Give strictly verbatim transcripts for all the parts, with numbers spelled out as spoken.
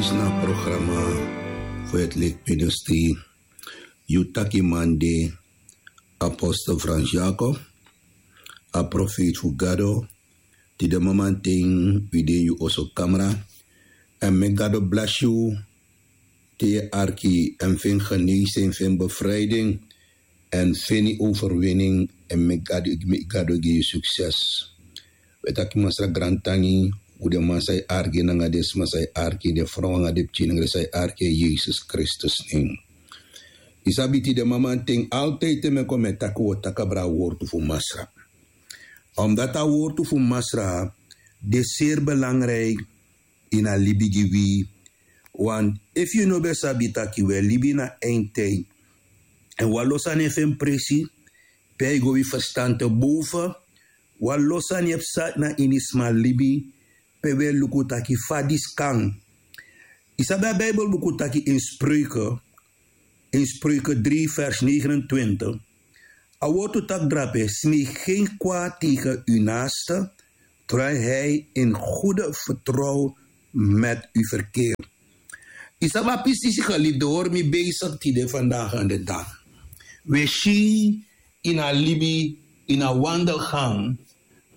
Disi na a programa fu het lik ministri. Yu taki man de apostel Frans Jacob, a profeet fu Gado. Tide mamanten wi de ini yu oso kamra. Èn meki Gado blesi yu te yu arki èn feni geneesing, feni bevrijding èn feni overwinning. Èn meki Gado, meki Gado gi yu sukses. Wi e taki Masra grantangi fu den man san e arki nanga den sma san e arki, den frow nanga den pikin nanga den san e arki, in Yesus Kristus nen. Yu sabi tide mamanten altijd te mi e kon mi e taki wi o taki abra a wortu fu Masra. Omdat a wortu fu Masra de seri belangrijk ini a libi gi wi. Want efu yu no ben sabi taki wi e libi na eindtijd èn wan lo sani e feni presi, pe a e go wi ferstan te boven. Wan lo sani e psa na ini sma libi, pe wi e luku taki fa disi kan. Yu sabi a Bijbelbuku taki in Spreuken, in Spreuken drie vers negenentwintig, a wortu taki drape: smeek geen kwaad tegen uw naaste, terwijl hij in goede vertrouwen met u verkeert. Yu sabi a pisisi geliefde, hori mi bezig tide vandaag aan de dag. Wi e si ini a libi, ini a wandelgang,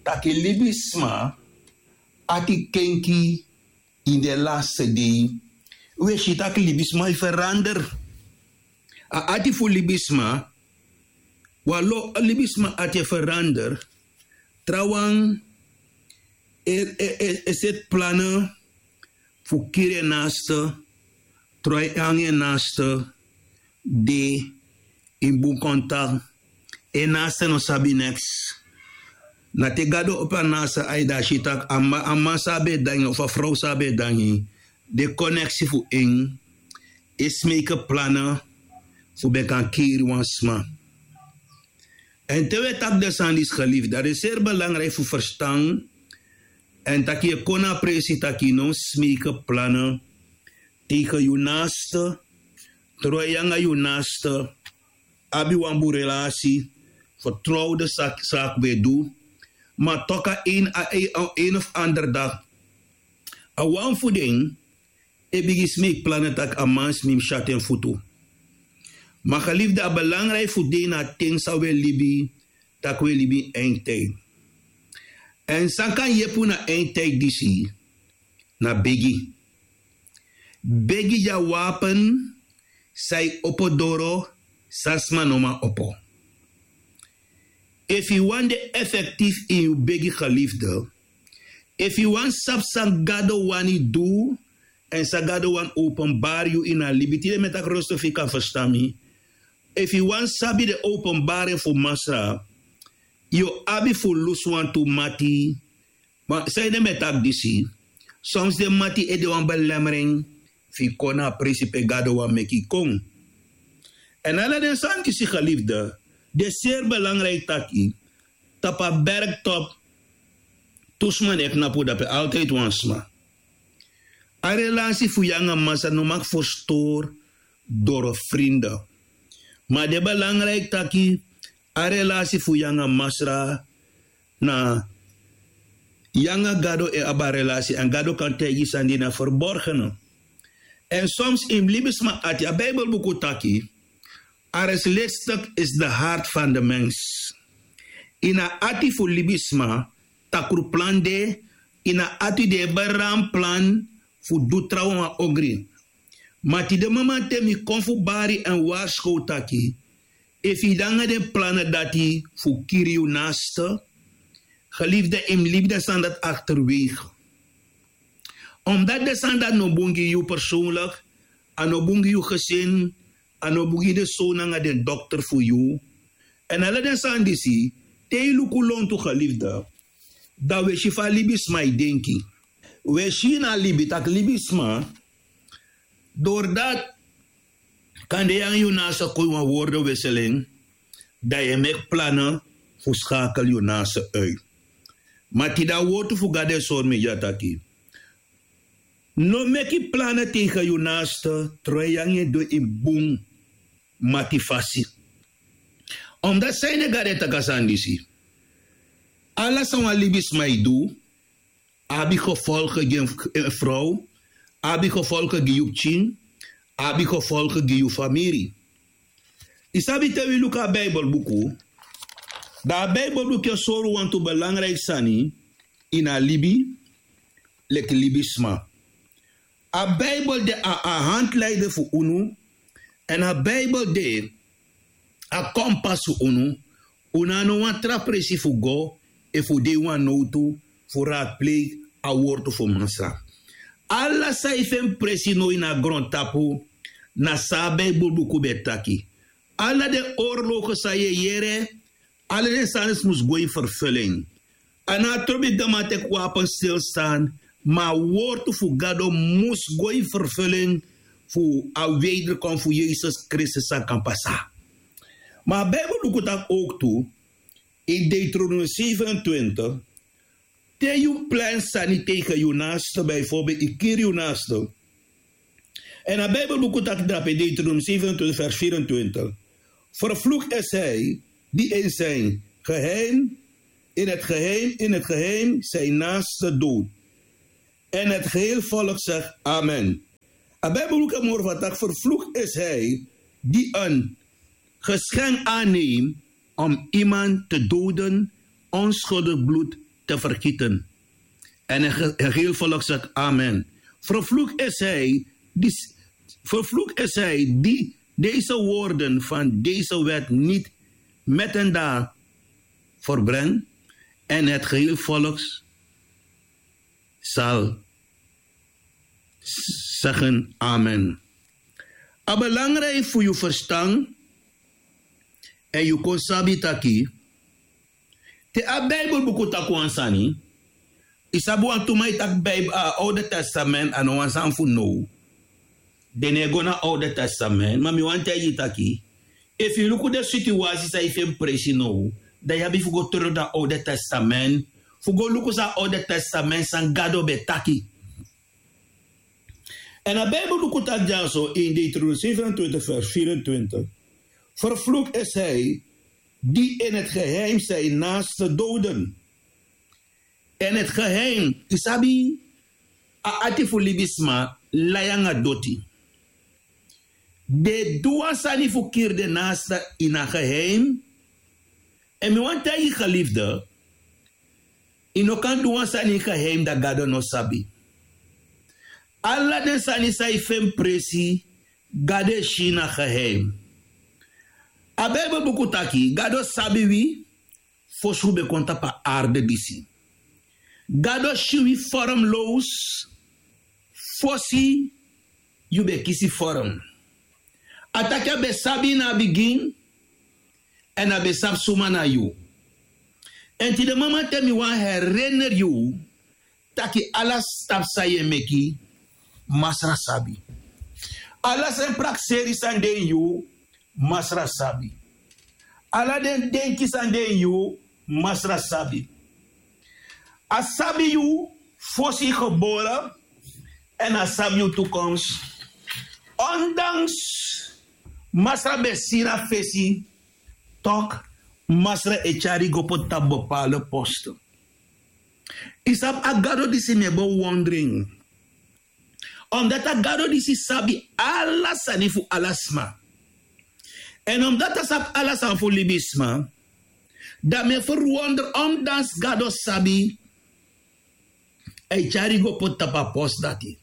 taki libisma ati kenki ini den laste dei. Wi e si taki libisma e verander. A ati fu libisma, wan lo libisma ati e verander. Trawan e, e, e, e seti plannen fu kiri en naaste, troi en nanga en naaste, de ini bun kontak. En naaste no sabi neks. Na te Gado opo a naaste ai, dan a si taki a man, a man san a ben e dangi of a frow san a ben e dangi, den koneksi fu en e smeke plannen fu ben kan kiri wan sma. Èn te wi e taki den sani disi geliefde, dan den seri belangrijk fu ferstan. Èn taki yu e kon na a presi taki yu no mus smeke plannen tegen yu naaste, terwijl yu nanga yu naaste abi wan bun relasi, vertrouwde saki, saki ben du. Ma toch a een, a een, a een of ander dag, a wan fu den e bigin smeki plannen taki a man smi mus syati en futu. Ma geliefde, a belangrijk fu dei na a ten san wi e libi, taki wi e libi ini eindtijd. Èn san kan yepi unu na eindtijd disi, na begi. Begi de a wapen san e opo doro san sma no man opo. Efu yu wani de effectief ini yu begi geliefde, efu yu wani sabi san Gado wani du, èn san Gado wani openbari yu ini a libi, tide mi e taki rosto fu yu kan ferstan mi. Efu yu wani sabi den openbaring fu Masra, yu o abi fu lusu wantu mati. Ma sanede mi e taki disi, soms den mati e de wan belemmering fu yu kon na a presi pe Gado wani meki yu kon. Èn ala den sani disi geliefde, de seri belangrijk taki tapu a bergtop tu sma no e knapu, dape altijd wan sma. A relasi fu yu nanga Masra no mag verstori doro vrienden. Ma de belangrijk taki a relasi fu yu nanga Masra na yu nanga Gado e abi a relasi, èn Gado kan taigi yu sani di na verborgene. Èn soms ini libisma ati, a Bijbelbuku taki, arrestlistig is de hart van de mens. Ini a ati fu libisma, takru plan de, ini a ati de e bari wan plan fu du trawan wan ogri. Ma tide mamanten mi kon fu bari èn warskow taki, efu yu de nanga den plannen dati fu kiri yu naaste, geliefde, yu mus libi den sani dati achterwege. Omdat den sani dati no bun gi yu persoonlijk, a no bun gi yu gezin, a no bun gi den zoon nanga den dochter fu yu. Èn ala den sani disi, te yu luku lontu geliefde, dan wi e si fa libisma e denki. Wi e si na libi taki libisma, doordat kande yu nanga yu naaste kon ini wan wordenwisseling, dan yu e meki plannen fu schakel yu naaste uit. Ma tide a wortu fu Gado e sori mi dya taki, no meki plannen tegen yu naaste terwijl yu nanga en de ini bun mati fasi. Omdat sanede Gado e taki a sani disi, ala san wan libisma e du abi gevolgen gi en, eh, frow, abi gefolgen gi yu pikin, abi gefolgen gi yu famiri. Yu sabi, te wi luku a Bijbelbuku, dan a Bijbelbuku e sori wantu belangrijk sani ini a libi, leki libisma. A Bijbel de a, a handleider fu unu, en a Bijbel de a kompas fu unu. Unu no abi wan tra presi fu go efu un de ini wan nowtu fu raadpleeg a wortu fu Masra. Ala san yu feni presi now ini a grontapu, na san a Bijbelbuku ben taki. Ala den oorlogen san yu e yere, ala den sani mus go in vervulling. A no trobi dan man teki wapen stilstan, ma a wortu fu Gado mus go in vervulling fu a wederkom fu Yesus Kristus san kan pasa. Ma a Bijbelbuku taki ook tu, in Deuteronomium zevenentwintig, te yu plan sani tegen yu naaste, bijvoorbeeld yu kiri yu naaste. En a Bijbelbuku taki drape, Deuteronomium zevenentwintig vers vierentwintig: Vervloekt is hij die in zijn geheim, in het geheim, in het geheim zijn naaste doodt. En het geheel volk zegt: Amen. A Bijbelboek e moro fu taki: Vervloekt is hij die een geschenk aanneemt om iemand te doden, onschuldig bloed te vergieten. En het ge-, het geheel volk zegt: Amen. Vervloekt is hij die, vervloekt is hij die deze woorden van deze wet niet met hen daar verbrengt. En het geheel volk zal zeggen: Amen. A belangrijk fu yu verstan, en yu kon sabi taki, te a Bijbelbuku taki wan sani, yu sabi, wantu man e taki Bijbel, a Oude Testament a no wan sani fu now. Den no e go na Oude Testament, ma mi wani taigi yu taki, efu yu luku den situasi san yu feni presi now, dan yu abi fu go terug na Oude Testament, fu go luku san Oude Testament san Gado ben taki. En a Bijbelbuku taki dyaso in Deuteronomium zevenentwintig vers vierentwintig: Vervloekt is hij die in het geheim zijn naaste doden. En het geheim, yu sabi, a ati fu libisma lai nanga doti. Den e du wan sani fu kiri den naaste ini a geheim. En mi wani taigi yu, geliefde, yu no kan du wan sani ini geheim dan Gado no sabi. Ala den sani san yu feni presi, Gado e si na geheim. A Bijbelbuku taki Gado sabi wi fosi un ben kon tapu a arde disi. Gado si wi vormloos fosi yu ben kisi vorm. A taki a ben sabi yu na a bigin, en a ben sabi suma na yu. En tide mamanten mi wani herinner yu taki ala stap san yu e meki, Masra sabi. Ala sen prakseri san de ini yu, Masra sabi. Ala den denki san de ini yu, Masra sabi. A sabi yu fosi yu gebore, en a sabi yu toekomst. Ondanks Masra ben sira fesi, toch Masra e tyari go poti tapu bepaalde posten. Yu sabi, a Gado disi mi e bewondering. Omdat a Gado disi sabi ala sani fu ala sma. En omdat a sabi ala sani fu libisma, dan mi e verwonder, ondanks Gado sabi, a e tyari go poti tapu a post dati.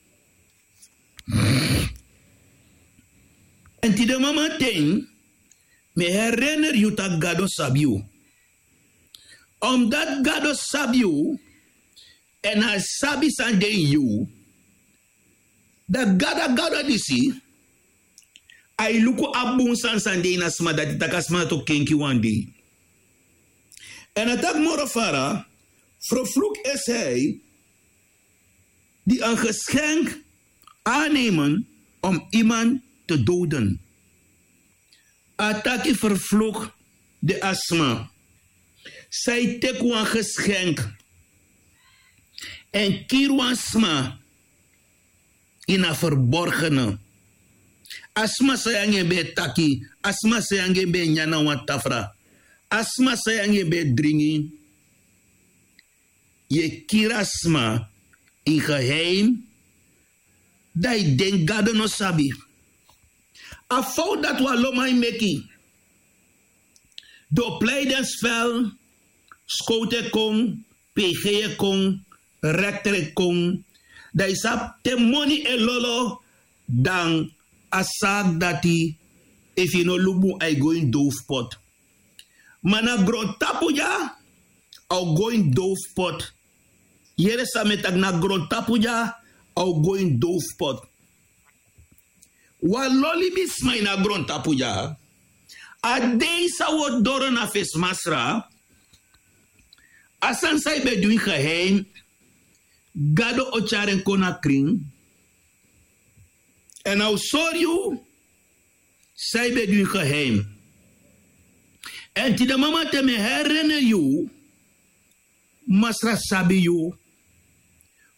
En tide mamanten, mi e herinner yu taki Gado sabi yu. Omdat Gado sabi yu, en a sabi san de ini yu, dan Gado, a Gado disi, a e luku a bun sani san de ini a sma dati, taki a sma dati o kenki wan dei. En a taki moro fara: Vervloekt is hij die een geschenk aannemen om iemand te doden. A taki: Vervloekt de a sma san e teki wan geschenk en kiri wan sma ini a verborgene. A sma san yu nanga en ben e taki, a sma san yu nanga en ben e nyan na wan tafra, a sma san yu nanga en ben e dringi. Yu e kiri a sma in geheim, Dan yu denki Gado no sabi. A fowtu dati wan lo man e meki. Den o plei den spel, skowtu e kon, pg e kon, rekter e kon. Dan yu sabi te moni e lolo, dan a saki dati, efu yu no luku bun, a e go ini dowfu pot. Ma na grontapu dya, a o go ini dowfu pot. Yere san mi e taki, na grontapu dya, a o go ini dowfu pot. Wan lo libisma ini a grontapu dya, a dei san un o doro na fesi Masra, a sani san yu ben du ini geheim, Gado o tyari en kon na krin. Èn a o sori yu san yu ben du ini geheim. Èn tide mamanten mi e herinner yu, Masra sabi yu.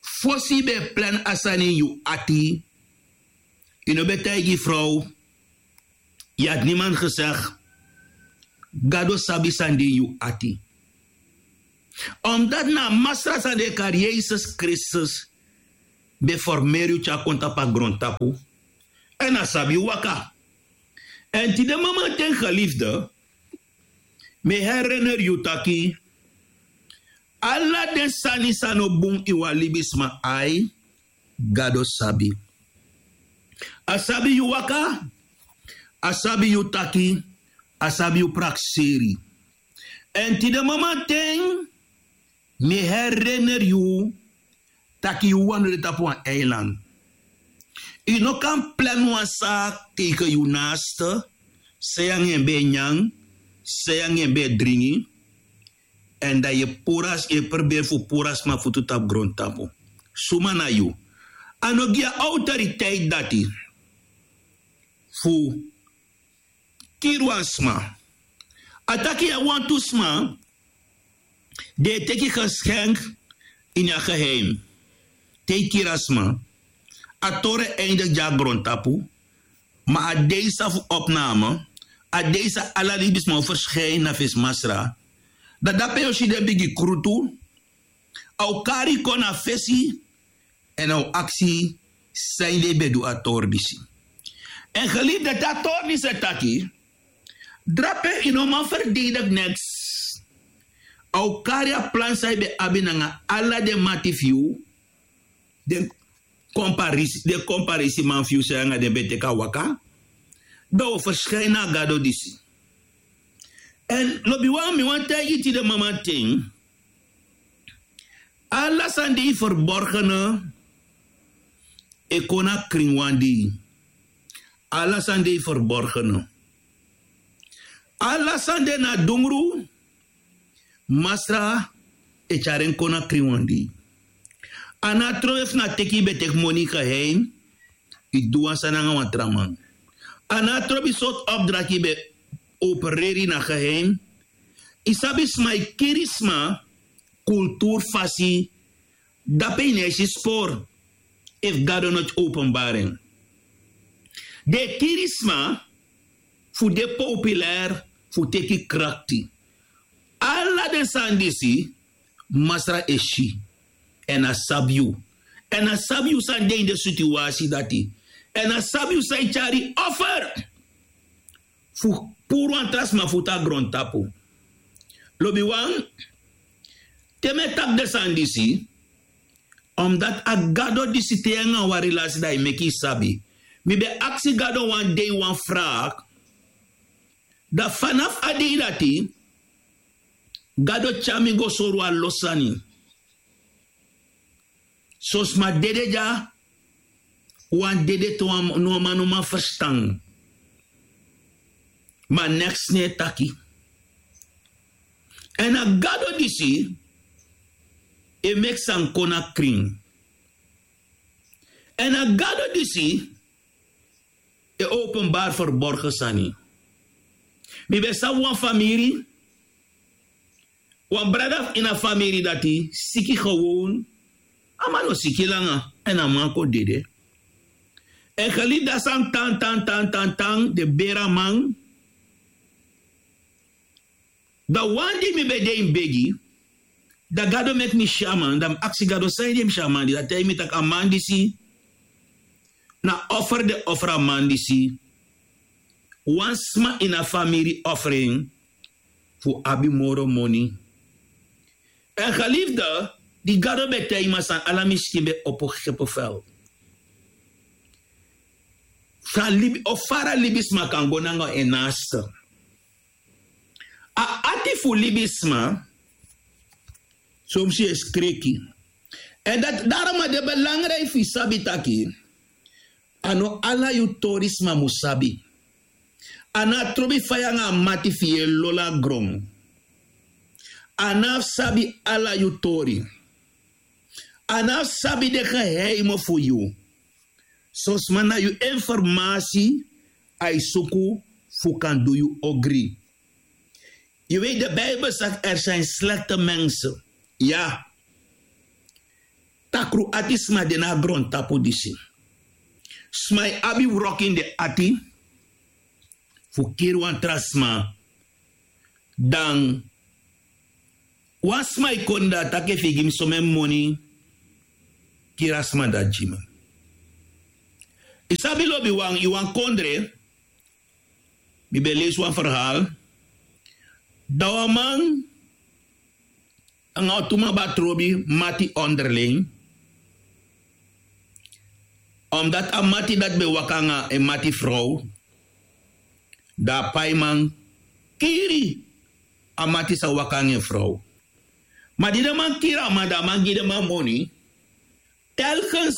Fosi yu ben e plan a sani ini yu ati, yu no ben taigi yu frow, yu had niemand gezegd. Gado sabi san de ini yu ati. Omdat na a Masra san den e kari Yesus Kristus ben formeri yu tyari kon tapu a grontapu. Èn a sabi yu waka. Èn tide mamanten geliefde, mi e herinner yu taki, ala den sani san no bun ini wan libisma ai, Gado sabi. A sabi yu waka, a sabi yu taki, a sabi yu prakseri. Èn tide mamanten, mi e herinner yu taki yu wawan no de tapu wan eiland. Yu no kan plan wan saki tegen yu naaste, san yu nanga en ben e nyan, san yu nanga en ben e dringi, èn dan yu e puru a, yu e pruberi fu puru a sma futu tapu grontapu. Suma na yu? A no gi yu a autoriteit dati fu kiri wan sma. A taki yu abi wantu sma di e teki geschenk ini a geheim. Te yu kiri a sma, a tori e eindig gi a grontapu, ma a dei san fu opname, a dei san ala libisma o verschijni na fesi Masra, dan dape yu o si den bigi krutu, a o kari yu kon na fesi, èn a o aksi san yu ben du a tori disi. Èn geliefde, te a tori disi e taki, drape yu no man verdedig niks. A o kari a plan san yu ben abi nanga ala den mati fu yu, den komparisi, den komparisiman fu yu san yu nanga den ben teki a waka, dan a o verschijni na a Gado disi. Èn lobiwan, mi wani taigi yu tide mamanten, ala sani di yu verborgene e kon na krin wan dei. Ala sani di yu verborgene. Ala sani di na dungru, Masra e tyari en kon na krin wan dei. A no abi trobi efu na teki yu ben teki moni geheim, yu du wan sani nanga wan tra man. A no abi trobi sortu opdracht yu ben opereri na geheim. Yu sabi sma e kiri sma kulturu fasi, dape yu no e si spor efu Gado no openbari en. Den e kiri sma fu de populair, fu teki krakti. Ala den sani disi, Masra e si. Èn a sabi yu. Èn a sabi yu san de ini den situasi dati. Èn a sabi yu san e tyari offer fu puru wan tra sma futu a grontapu. Lobiwan, te mi e taki den sani disi, omdat a Gado disi, te yu nanga wan relasi, dan yu meki yu sabi. Mi ben aksi Gado wan dei wan vraag. Dan vanaf a dei dati, Gado tyari mi go sori wan lo sani. Son sma dede dya, wan dede te wan no man no man ferstan. Ma neks no e taki. Èn a Gado disi e meki sani kon na krin. Èn a Gado disi e openbari verborgen sani. Mi ben sabi wan famiri, wan brada fu ini a famiri dati siki gewoon. A man no siki langa, èn a man kon dede. Èn geliefde, a sani tan, tan, tan, tan, tan, den beri a man. Dan wan dei mi ben de ini begi, dan Gado meki mi si a man, dan mi aksi Gado san ede mi si a man disi, dan a taigi mi taki a man disi Na offer den offer a man disi. Wan sma ini a famiri offer en fu abi moro moni. Èn gelifde, di gado ben taigi mi a sani, ala mi skin ben opo gepe fel. Fa libi o fara libisma kan go nanga en naaste. A ati fu libisma, somsi e skreki. Èn dati darom a de belangriki fu yu sabi taki a no ala yu tori sma mus sabi. A no abi trobi fa yu nanga a mati fu yu e lolo na gron. A no abi sabi ala yu tori. A no abi sabi den geheimo fu yu. Son sma na yu informasi a e suku fu kan du yu ogri. Yu wei de Bijbel saki er zijn slechte mensen. Ya. Takru ati sma de na a grontapu disi. Sma e abi wrok ini den ati fu kiri wan tra sma. Dan wan sma e kon dati taki efu yu gi mi somen moni, kiri a sma dati gi mi. Yu sabi lobiwan, yu wan kondre. Mi ben leisi wan ferhaal. Dan wan man nanga wan tu man ben abi trobi mati onderling. Omdati a mati dati ben waka nanga en mati frow, dan a paiman kiri a mati san waka nanga en frow. Ma di den man kiri a man, dan a man gi den man moni. Telkens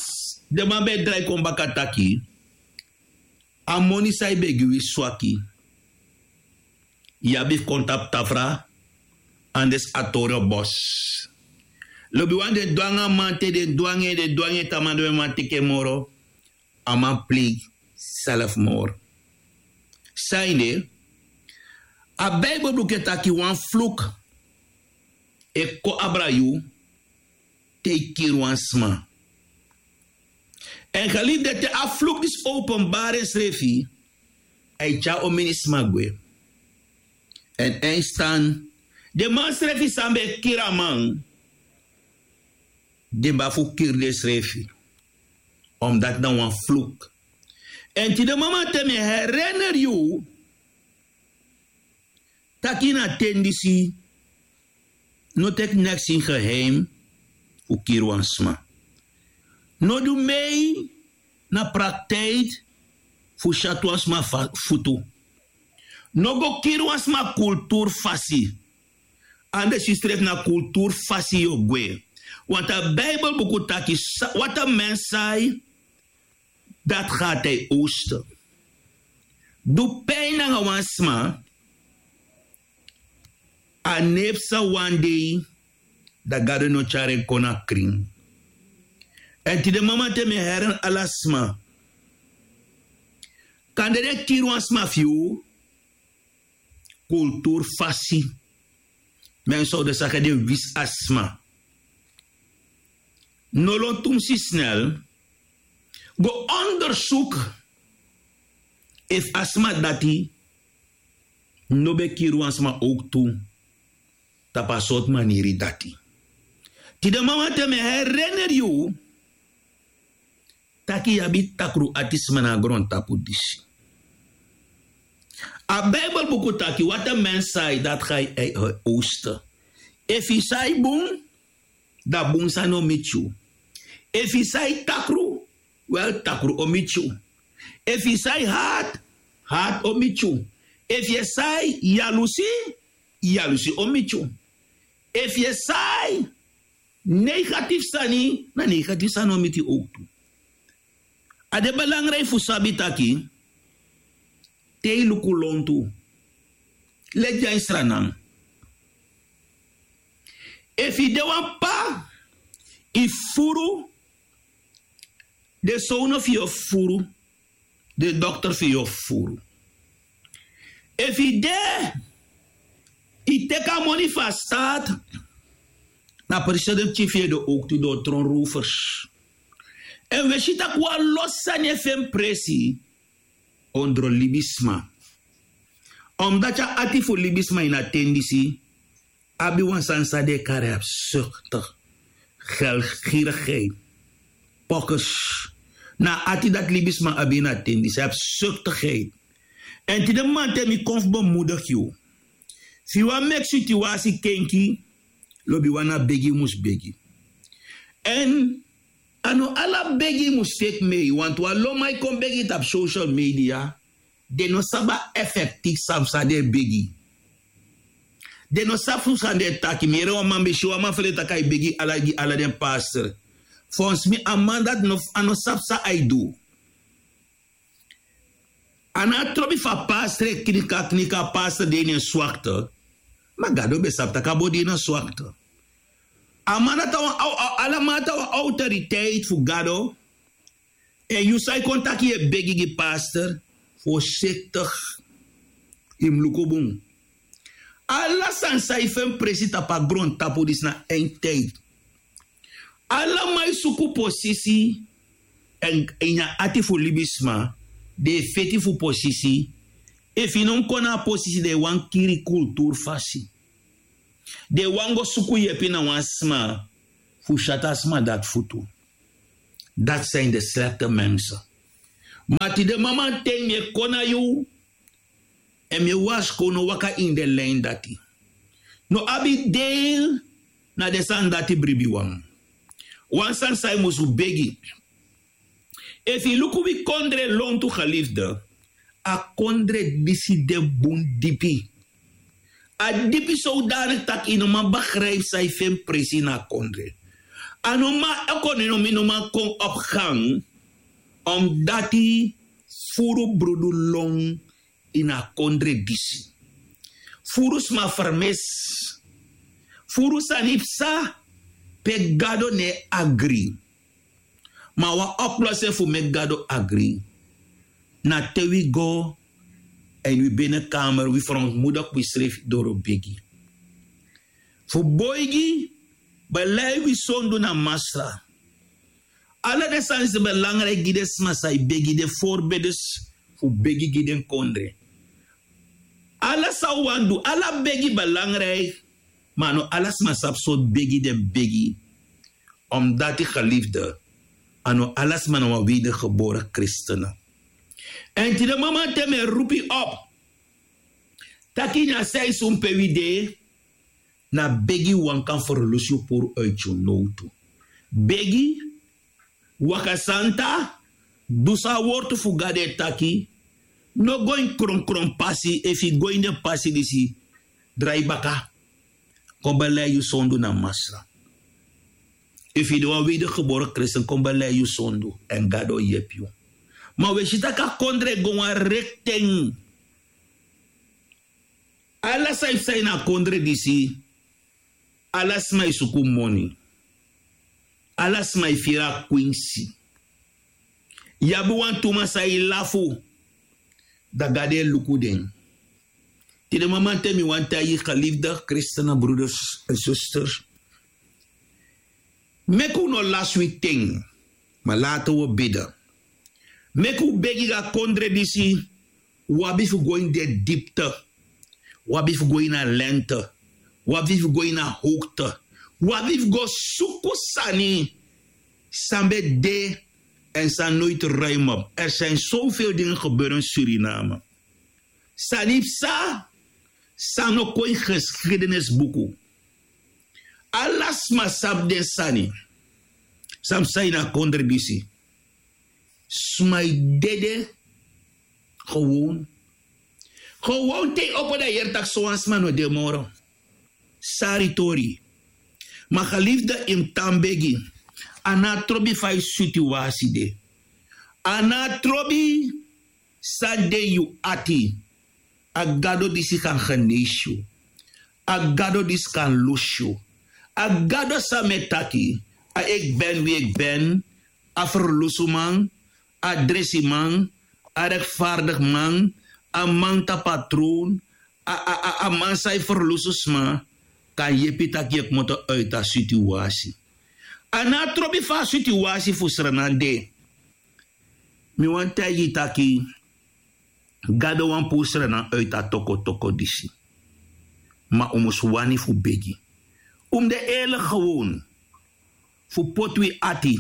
den man ben e drai kon baka taki a moni san yu ben gi wi swaki. Yu abi fu kon tapu tafra. Anders a tori o bos. Lobiwan, den du nanga a man te den du nanga en den du nanga en te a man no ben man teki en moro. A man pleigi selfmor. San ede? A Bijbel buku e taki wan fluk e kon abra yu te yu kiri wan sma. Èn gelibi de te a fluk disi openbari ensrefi, a e tyari omeni sma gwe. Èn en stan den man srefi san ben e kiri a man, den ben abi fu kiri densrefi. Omdati na wan fluk. Èn tide mama te mi e herineri yu taki na ten disi, no teki neks ini geheim fu kiri wan sma. No du mei na praktiki fu syatu wan sma futu. No go kiri wan sma kulturu fasi. Anders yu srefi na kulturu fasi yu o gwe. Want a Bijbel buku taki, wat a mens sai, dat gaat hij oosten. Du pijn nanga wan sma, a neef san wan dei, dan Gado no tyari en kon na krin. Èn tide mama te mi e herineri ala sma, kande den kiri wan sma fu yu, kulturu fasi. Men sowdu saka den wisi a sma. No lon tumsi snel. Go ondersuku efu a sma dati no ben kiri wan sma owktu tapu a sortu maniri dati. Tide mama te mi e herineri yu taki yu abi takru ati sma na a grontapu disi. A Bijbel buku taki wat a mens sai dat gaat hij oosten. Efu yu sai bun, dan bun sani o miti yu. Efu yu sai takru, wel takru o miti yu. Efu yu sai hati, hati o miti yu. Efu yu sai yalusi, yalusi o miti yu. Efu yu sai negatifu sani, na negatifu sani o miti yu owktu. A de belangriki fu sabi taki te yu luku lontu, leti a ini Sranan. Efu yu de wan p'pa, yu fufuru, den sownu fu yu o fufuru, den dokter fu yu o fufuru. Efu yu de, yu teki a moni fu a staati, na presidensi fu yu e de owktu, den o tron rowfers. Èn wi e si tak' wan lo sani e feni presi ondro libisma. Omdati a ati fu libisma ini a ten disi abi wan sani san den e kari absurde, gelgirigheid, pokkers. Na a ati dati libisma abi ini a ten disi a abi sektigheid. Èn tide maman te mi kon fu bemudigi yu, fu yu wani meki situasi kenki, lobi wan na begi yu mus begi. Èn a no ala begi yu mus feki mei wantu wan lon man e kon begi tapu social media. Den no sabi a efekti san fu san den e begi. Den no sabi fu san den e taki mi yere wan man mi si wan man fu den taki a e begi ala gi ala den pastor. Fonsi mi a man dati no a no sabi san a e du. A no a trobi fu a pastor e knika knika a pastor de ini en swakte. Ma gado ben sabi tak' a bo de ini en swakte. A man dati a wan ala man dati a wan awtoriteiti fu gado. Èn yu san yu kon taki yu e begi gi pastor, fosiktik. Yu mus luku bun. Ala sani san yu feni presi tapu a grontapu disi na en tide. Ala man e suku posisi. Èn ini a ati fu libisma den e feti fu posisi. Efu yu no mus kon na a posisi den e wani kiri kulturu fasi. Den e wani go suku yepi na wan sma fu si ati a sma dati futu. Dati san ini de slekte mense. Ma tide mamanten mi e kon na yu. Èn mi e warskow no waka ini den lin dati. No abi deel na den sani dati bribiwan. Wan sani san yu mus fu begi. Efu yu luku wi kondre lontu gelifde, a kondre disi de bun dipi. A dipi sowdanik tak' yu no man begripi san yu feni presi ini a kondre. A no man ekonomi no man kon opu gan. Omdati furu brudu lon ini a kondre disi. Furu sma fermesi. Furu sani psa pe gado no e agri. Ma wan oplosin fu meki gado agri na te wi go èn wi binekamer wi ferantmudiki wisrefi doro begi. Fu boigi belei wi sondu na masra. Ala den sani si belangriki gi den sma san e begi den forbedes fu begi gi den kondre. Ala san un wani du ala begi belangriki. Ma a no ala sma sabi sortu begi den begi. Omdati gelifde a no ala sma na wan wedergebore kristene. Èn tide mamanten mi e rupu yu opu taki ini a seisun pe wi de. Na begi wan kan ferlusu yu puru uiti yu nowtu. Begi waka santa. Du san a wortu fu gado e taki. No go ini kronkron pasi efu yu go ini den pasi disi drai baka. Kon belei yu sondu na masra. Efu yu de wan wedergebore kristen kon belei yu sondu èn gado o yepi yu. Ma wi e si tak' a kondre e go wan rekten. Ala san yu psa ini a kondre disi. Ala sma e suku moni. Ala sma e firi a kwinsi. Yu abi wantu man san e lafu. Dan gado e luku den. Tide mamanten mi wani taigi yu gelifde kristene bruders èn susters. Meki un no lasi wi ten. Ma lati un o bidi. Meki un begi gi a kondre disi. Un abi fu go ini den dipte. Un abi fu go ini a lente. Un abi fu go ini a howkte. Un abi fu go suku sani san ben de. Èn san noiti ruim op er sani sowfel dingi geberi ini suriname. Sani psa san no kon ini geskidenisbuku. Ala sma sabi den sani. San psa ini a kondre disi. Sma e dede. Gewon. Gewon te yu opo dan yu yere tak' sowan sma no de moro. Sari tori. Ma gelifde yu mus tan begi. A no a trobi fa yu situasi de. A no a trobi san de yu ati. A gado disi kan genesi yu. A gado disi kan lusu yu. A gado san mi e taki. A ekben wi ekben. A ferlusuman. A dresiman. A rekfardigi man. A man tapu a tron. A man san e ferlusu sma. Kan yepi tak' yu e kmoto uiti a situasi. A no a trobi fa a situasi fu sranan de. Mi wani taigi yu taki gado wani puru sranan uiti a tokotoko disi. Ma un mus wani fu begi. Un mus de eerlik gewon fu poti wi ati.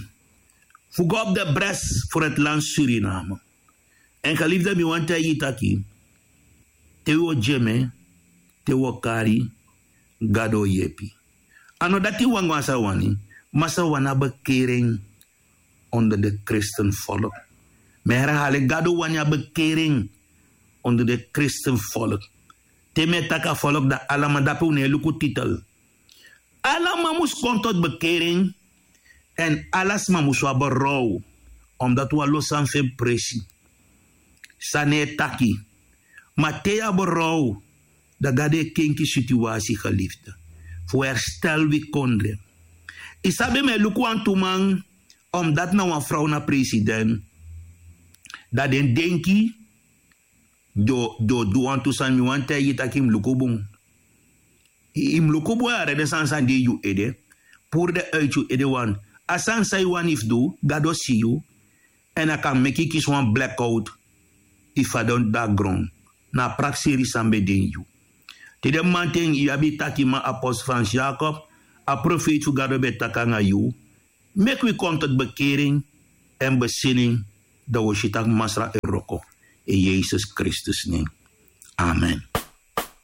fu go op de bres fu het land Suriname. Èn geliefde, mi wani taigi yu taki te wi o dyeme, te wi o kari, Gado o yepi. A no dati wan go a sa wani, ma sa wani a bekering onder de christenvolk. Mi herhali, Gado wani a bekering onder de christenvolk. Te mi e taki a volk, dan alaman, dape un no e luku titel. Alaman mus kon tot bekering. Èn ala sma mus abi berouw, omdat wan lo sani fu en presi. San no e taki. Ma te yu abi berouw, dan Gado e kenki situasi, geliefde, fu herstel wi kondre. Yu sabi, mi e luku wantu man, omdat na wan frow na president, dan den denki den o du wantu sani. Mi wani taigi yu taki yu mus luku bun. Yu mus luku bun, yere den sani san de ini yu ede. Puru den uit yu ede, want a sani san yu wani fu du, Gado si yu. Èn a kan meki yu kisi wan blackout. Yu fadon de na gron. Na a prakseri san ben de ini yu. Te den mamanten yu abi takiman, apostel Frans Jacob, a profeiti fu Gado ben taki nanga yu. Meki wi kon tot bekering èn besinning, dan wi o si tak' Masra e wroko. In Yesus Kristus nen. Amen.